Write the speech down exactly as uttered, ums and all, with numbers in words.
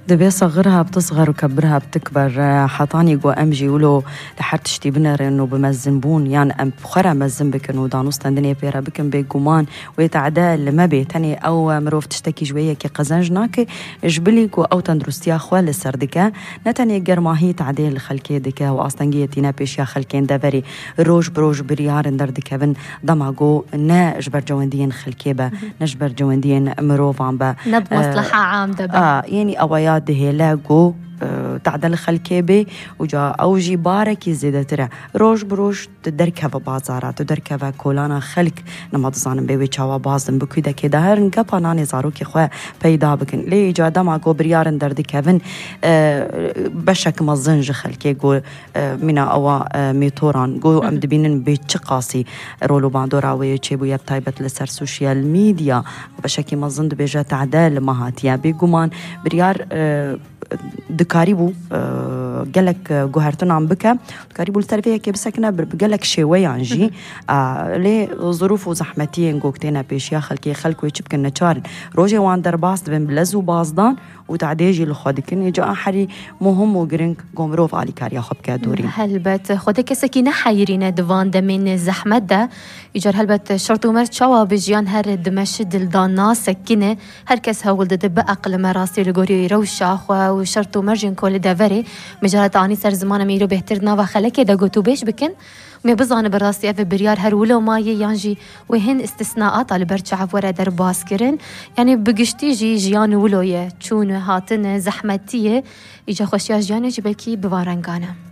Dibê saxir hebtisxer û kebir hebtikber, hetanî ku em jî wilo li her tiştî binerin û bi mezinbûn yan em bi xwe re mezin bikin û danûstendinê pê re bikin, bêguman wê tade li me bê. Tenê ew mirov tiştekî ji wê yekê qezenc nake, ji bilî ku ew tenduristiya xwe li ser dike, ne tenê germahî tadê li xelkê dike û astengiyê tîne pêşiya xelkên deverê. Roj bi roj biryarin derdikevin, dema ku ne ji ber cewendiyên xelkê be, ne ji ber cewendiyên mirovan be. Ne bi mesleha am de be. A, yenî ewa ya dihêle ku, e, tade li xelkê bê û ca ew jî barekî zêdetir e. Roj bi roj tu derkeve bazara, tu derkeve kolana xelk, nema dizanim bê wê çawa bazin, bi kûdekê de herin gepa nanê zarokê xwe peyda bikin. Lê îca dema ku biryarin derdikevin, e, beşek mezin ji xelkê ku, e, mîna ewa, e, mêtoran ku em dibînin bê çi qasî rol û bandora wê çêbûye, bi taybet li ser sosyal medya, beşekî mezin dibêje tade li me hatiye. Bêguman biryar, e, dikarîbû, e, gelek, e, guhertinan bike, dikarîbû li ser vê yekê bisekine bi, bi gelek şêweyan jî. E, lê zirûf û zehmetiyên ku têne pêşiya xelkê, xelk wê çi bikin, neçar in. Rojê wan derbas dibin bi lez û bazdan û tadê jî li xwe dikin. Êca a herî muhim û giring ku mirov alîkariya xwe bike dorî. Helbet, Xwedê kesekî neheyirîne di van demên zehmet de. Îcar helbet şert û merc çawa bi jiyan her dimeşi dildan nasekine. Her kes hewl dide bi eqlime rastî li gorî rewşa xwe û şert û mercên ku li deverê mijareta anî ser ziman em îro bêhtir di nava xelekê de gotûbêj bikin. Em ê bizane bi rastî ev biryar her wilo maye yan jî wê hin îstisnaata li ber çav were derbas kirin. Yanî bi giştî jî jiyan wilo ye. Çûn, hatin, zehmetî ye. Îca xweşiya jiyanê jî belkî bi van rengan e.